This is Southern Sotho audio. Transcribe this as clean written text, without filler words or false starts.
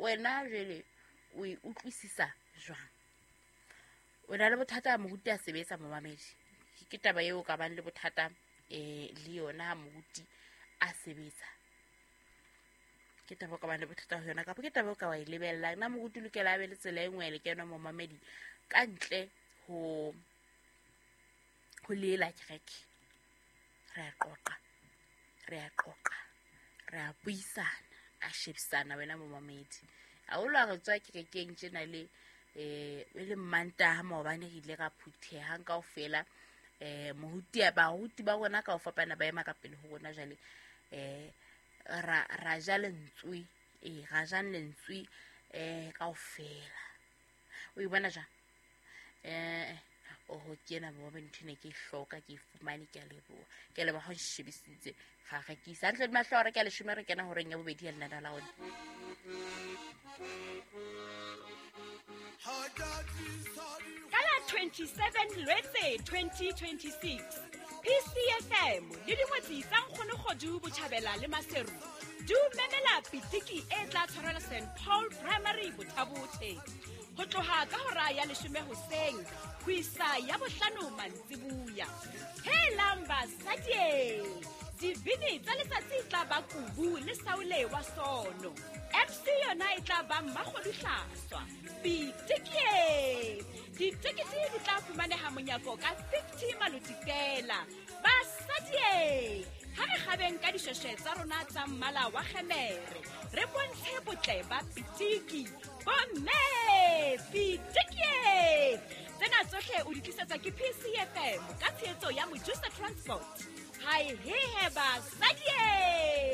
Wena jwale o e utlwisisa jwang? O na le bothata moruti a sebetsa, momamedi? Ke taba eo o ka bang le bothata le yona ha moruti a sebetsa? Ke taba o ka bang le bothata ho yona, kapa ke taba o ka wa e lebellang? Na moruti o lokela a be le tsela e nngwe ya lekeno, momamedi, ka ntle ho lela kereke? Re a qoqa, re a qoqa, re a buisana, a shebisana. Wena momamedi, haholo ha re tswa kerekeng tjena le e le Mmantaha, maobane re ile ra phuthehang kaofela, moruti, baruti ba rona ka ho fapana ba ema ka pele ho rona. Jwale ra ja lentswe, ra jang lentswe kaofela. O e bona jwang? Oho, ke ena mobe, ntho ene ke e hloka, ke e fumane. Ke a leboha, ke a leboha ha o nshebisitse. Ga rekisa hantle le mahlo a re ke a 10, re kena horeng ya bobedi ya lenaneo la rona. Ka la 27 Lwetse 2026, PCFM le dingwetsi tsa Nkgonogodu Botjhabela le Maseru di o memela pitiki e tla tshwarelwa St Paul Primary, Bothabothe, ho tloha ka hora ya 10 hoseng ho isa ya 5 mantsibuya. Helang basadie, dibini tsa letsatsi e tla ba Kubu le Saule wa Sono. MC yona e tla ba Mmakgodu Hlaswa. Pitikie, ditekete di tla fumaneha monyako ka 50 maloti fela. Basadie, ha re kgabeng ka dishweshwe tsa rona tsa mmala wa kgemere, re bontshe botle ba pitiki. Bomme, pitikie! Tsena tsohle o di tlisetswa ke PCFM ka tshehetso ya Mojusa Transport. Hae hehe basadie!